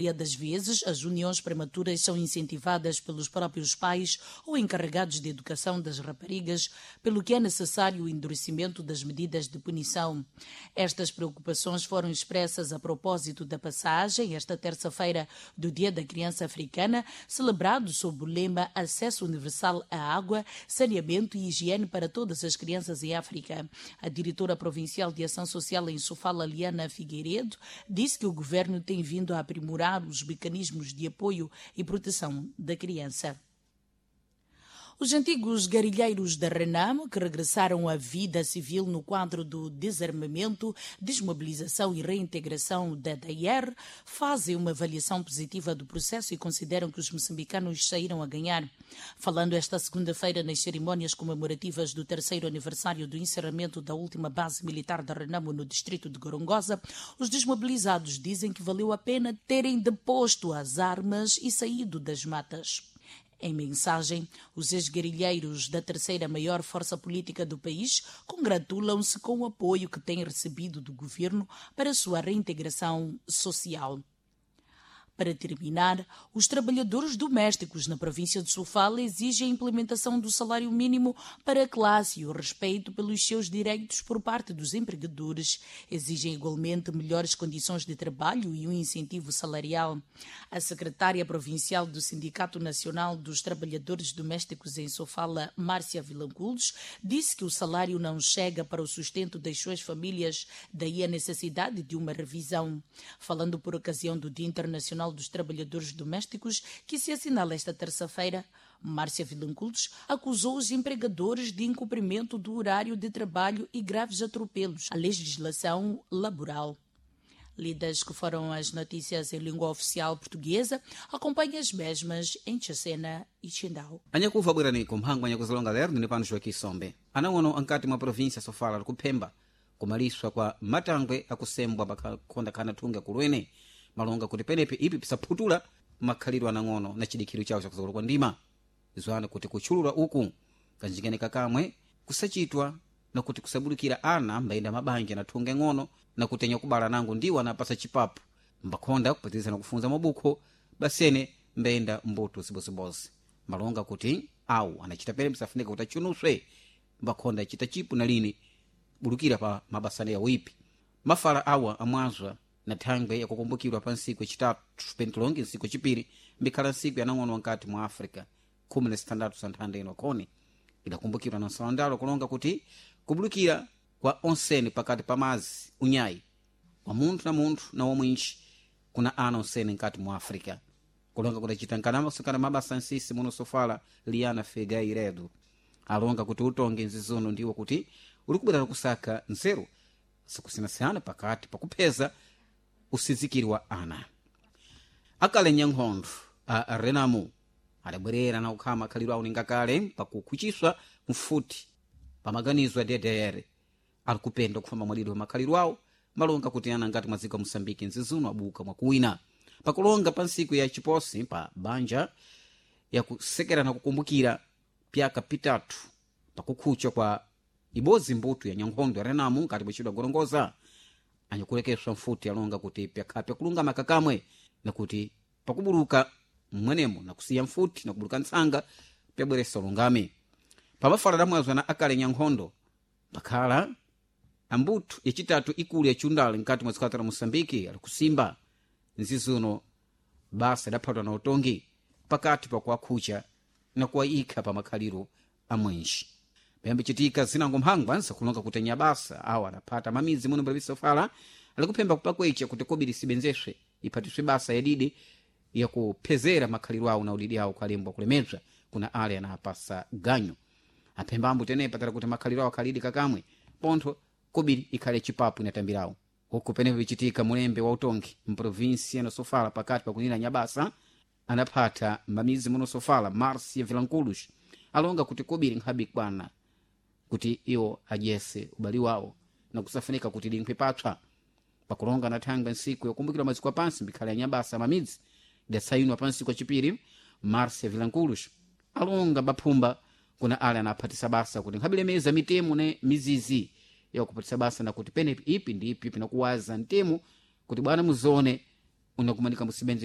Das vezes, as uniões prematuras são incentivadas pelos próprios pais ou encarregados de educação das raparigas, pelo que é necessário o endurecimento das medidas de punição. Estas preocupações foram expressas a propósito da passagem, esta terça-feira, do Dia da Criança Africana, celebrado sob o lema Acesso Universal à Água, Saneamento e Higiene para Todas as Crianças em África. A diretora provincial de Ação Social em Sofala, Liana Figueiredo, disse que o governo tem vindo a aprimorar os mecanismos de apoio e proteção da criança. Os antigos guerrilheiros da Renamo, que regressaram à vida civil no quadro do desarmamento, desmobilização e reintegração da DAR, fazem uma avaliação positiva do processo e consideram que os moçambicanos saíram a ganhar. Falando esta segunda-feira nas cerimônias comemorativas do terceiro aniversário do encerramento da última base militar da Renamo no distrito de Gorongosa, os desmobilizados dizem que valeu a pena terem deposto as armas e saído das matas. Em mensagem, os ex-guerrilheiros da terceira maior força política do país congratulam-se com o apoio que têm recebido do governo para a sua reintegração social. Para terminar, os trabalhadores domésticos na província de Sofala exigem a implementação do salário mínimo para a classe e o respeito pelos seus direitos por parte dos empregadores. Exigem igualmente melhores condições de trabalho e um incentivo salarial. A secretária provincial do Sindicato Nacional dos Trabalhadores Domésticos em Sofala, Márcia Vilanculos, disse que o salário não chega para o sustento das suas famílias, daí a necessidade de uma revisão. Falando por ocasião do Dia Internacional dos Trabalhadores Domésticos, que se assinala esta terça-feira, Márcia Vilanculos acusou os empregadores de incumprimento do horário de trabalho e graves atropelos à legislação laboral. Lidas que foram as notícias em língua oficial portuguesa, acompanhe as mesmas em Chacena e Chindau. Anyakuva bwerani mphangwa nyakuzilonga lero ndine pano Joaquim anang'ono ankati mwa província sofala likuphemba kumaliswa kwa matangwe akusembwa pakhonda khana thunga kulwene malonga kuti penepe ipi pisaphutula makhalidwe anang'ono na chidikhiro chawo chakuzokolo kwa ndima zwana kuti kutchulula uku kanjikene kakamwe kusachitwa na kuti kusabulukira ana mbayenda mabanja na thunga ng'ono na kutenya kubala nango ndiwo anapasa chipapu mbakhonda kupatiriza na kufunza mabukho basene mbayenda mbuto zibozibozi malonga kuti awu anachita pene msafunika kuti achunuswe mbakhonda achita chipu na lini bulukira pa mabasane yawo ipi mafala awa amwazwa na thangwe yakukumbukirwa pa ntsiku yacitatu pentilongi ntsiku yacipiri mbikhala ntsiku yanang'ono nkati mwa africa khumi na sitandatu santhanda ino khoni idakumbukirwa na nsalandalo kulonga kuti kubulukira kwa onsene pakati pa mazi unyayi wa munthu na munthu na womwinji kuna ana onsene nkati mwa africa kulonga kudacita nkanamakusukana mabasa nsisi muno sofala Liana Figueiredo alonga kuti utonge nzizono ndiwo kuti uli kubwerera kusaka nzeru zikusiyanasiyana pakati pakupheza usizikiri wa ana akale nyankhondo a Renamo adabwerera na kukhala makhalidwe awo ningakale pakukhuchiswa mfuti pamaganizo a DDR ali kupenda kufamba mwalidwe wa makhalidwe awo malonga kuti ana ngati mwaziko wa Moçambique nzizuno abuka mwakuwina pakulonga pa ntsiku ya chiposi pa banja yakusekera na kukumbukira pyaka pitatu pakukhucha kwa ibodzi mbuto ya nyankhondo ya Renamo ngati bwechidwa gorongoza anyakulekeswa mfuti alonga kuti pyakhala pyakulungama kakamwe nakuti pakubuluka mmwenemo nakusiya mfuti nakubuluka ntsanga pyabweresa ulungami pamafala damwazwa na akale nyankhondo pakhala ambuthu yacitatu ikulu yacundale nkati mwa dziko la Moçambique ali kusimba nzizuno basa idaphatwa na utongi pakati pakuwakhucha na kuwayikha pa makhaliro amwenji payambicitika zinango mphangwa nsakulonga kuti anyabasa awo adaphata mamizi muno mbapisa alikuphemba kupakwecha kuti kobiri sibenzeswe iphatiswe basa yadidi yakuphezera makhaliro awo na udidi awo kalembwa kulemedzwa kuna ale anapasa ganyo aphemba ambu tenepa tala kuti makhaliro awo akhalidi kakamwe pontho kobiri ikhale chipapu inatambirawo huku penepo picitika mulembe wa utongi mprovinsia na Sofala pakati pakunena nyabasa anaphata mamizi muno Sofala Marcia Vilanculos alonga kuti kobiri nkhabe kwana kuti iwo adyese ubali wawo na kusafunika kuti linkhwe patswa pakulonga na thangwe ntsiku yokumbukira maziko apansi mbikhala ya nyabasa mamidzi idatsayinwa pa ntsiku yacipiri Marcia Vilanculos alonga baphumba kuna ale anaphatisa basa kuti nkhabilemeza mitemo ne mizizi yakuphatisa basa nakuti penepi ipi ndi ipi pinakuwaza mtemo kuti bwana muzone Unakumanika musibenze.